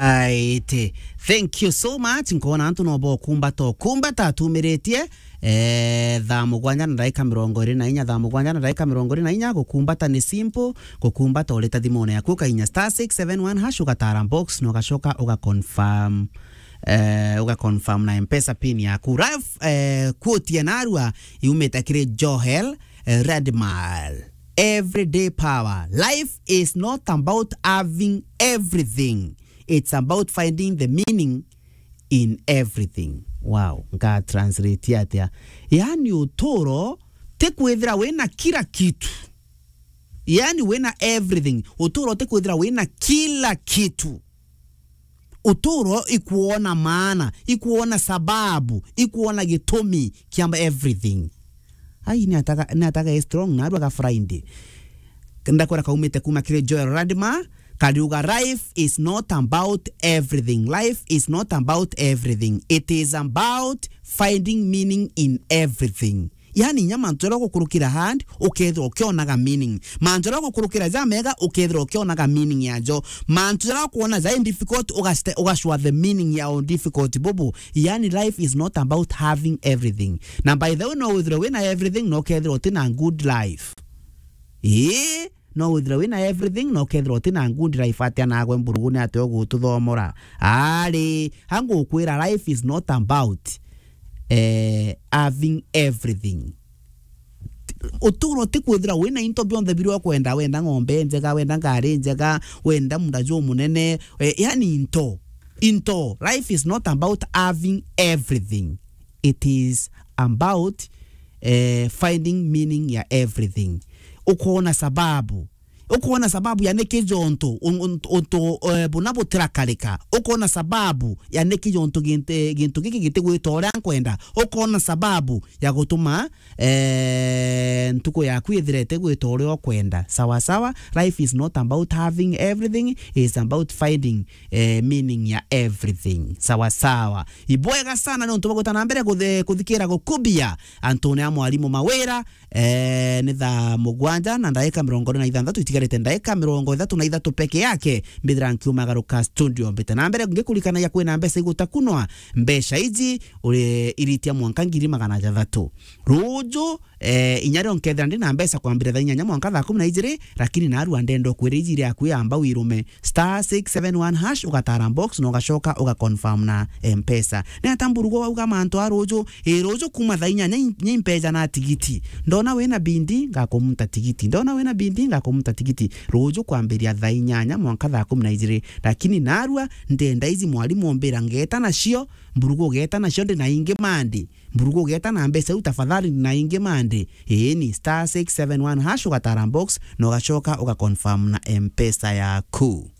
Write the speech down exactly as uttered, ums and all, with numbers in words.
Aite. Thank you so much. Nkona antu no bo kumbata, kumbata tumiritie. Eh, thaa mugwanja na ndagika mirongo iri na inya, thaa mugwanja na ndagika mirongo iri na inya, gukumbata ni simple, gukumbata urita thimune yaku, ukainya star six seven one hash, ugatara box, na ugacoka uga confirm, eh, uga confirm na M-Pesa pin yaku. Ralph, eh, quote ya narua, yumite kiri Joel, eh, Radmal. Everyday power. Life is not about having everything. It's about finding the meaning in everything. Wow, nga translate atia? Yani, uturo ti kwithira wina kila kitu. Yani, wina everything. Uturo ti kwithira wina kila kitu. Uturo ikuona maana, ikuona sababu, ikuona gitumi kia everything. Ai, ni ataga, ni ataga e strong, na arua ga Friday. Ndakwira kaumite kuma kiri Joel Radma, kariuga, "Life is not about everything. Life is not about everything. It is about finding meaning in everything." Yani, inya mantu jaria gukurukira hand, ukethirwa ukionaga meaning. Mantu jaria gukurukira ja mega, ukethirwa ukionaga meaning yajo. Mantu jaria ukuona ja difficult, ugaste-, ugacua the meaning ya difficult bubu. Yani, life is not about having everything. Na by the way, no withirwe wina everything, no ukethirwa utina good life. Ii, no withirwe wina everything, no ukethirwa utina good life. Atia nagwe mburugu ni atia ugututhomora? Ari, angukwira, life is not about, eh, having everything. Uturo ti kwithira wina into bionthe biria ukwenda, wenda ng'ombe njega, wenda ngari njega, wenda munda jumunene, eh, yani into, into. Life is not about having everything. It is about, eh, finding meaning ya everything. Ukoona sababu. Ukoona sababu ya niki jontu un-, un-, untu, eh, buna butirakarika. Ukoona sababu ya niki jontu ginte-, gintu giki gitigwita uria nkwenda. Ukoona sababu ya gutuma, eh, ntuku yaku ithire itigwita uria ukwenda. Sawa sawa, life is not about having everything, it's about finding, eh, meaning ya everything. Sawa sawa. Ibwega sana ni untu bwa gwita na mbere kuthe-, kuthikira gukubia antune a mwarimu Mawira. Eh, ni thaa mugwanja na ndagika mirongo iri na ithanthatu, itigarite ndagika mirongo ithatu na ithatu peke yake, mbithira nkiumagaruka studio. Mbite na mbere ngikurikanagia kwina mbeca igutakunwa, mbeca iji uri iritia mwanka ngiri magana jathatu. Ruju, eh, inya rio nkethira ndi na mbeca kwambira thaa inyanya mwanka thaa kumi na ijiri, lakini narua ndenda ukwira iji iri akui amba wirume star six seven one hash, ugatara box na ugacoka uga confirm na M-Pesa. Ni ata mburugu wauga mantu a ruju? Ii, ruju kuma thaa inyanya ni, ni mpeja na tigiti. Ndona wina bindi, ngakumuta tigiti. Ndona wina bindi, ngakumuta tigiti. Ruju kwambiria thaa inyanya mwanka thaa kumi na ijiri. Lakini narua, ndenda iji mwarimu ombira ngeta nacio, mburugu ugeta nacio ndi na ingi mandi. Mburugu ugeta na mbeca iu tafadhali ndi na ingi mandi. Ii, ni star six seven one hash, ugatara box na ugacoka uga confirm na M-Pesa yaku.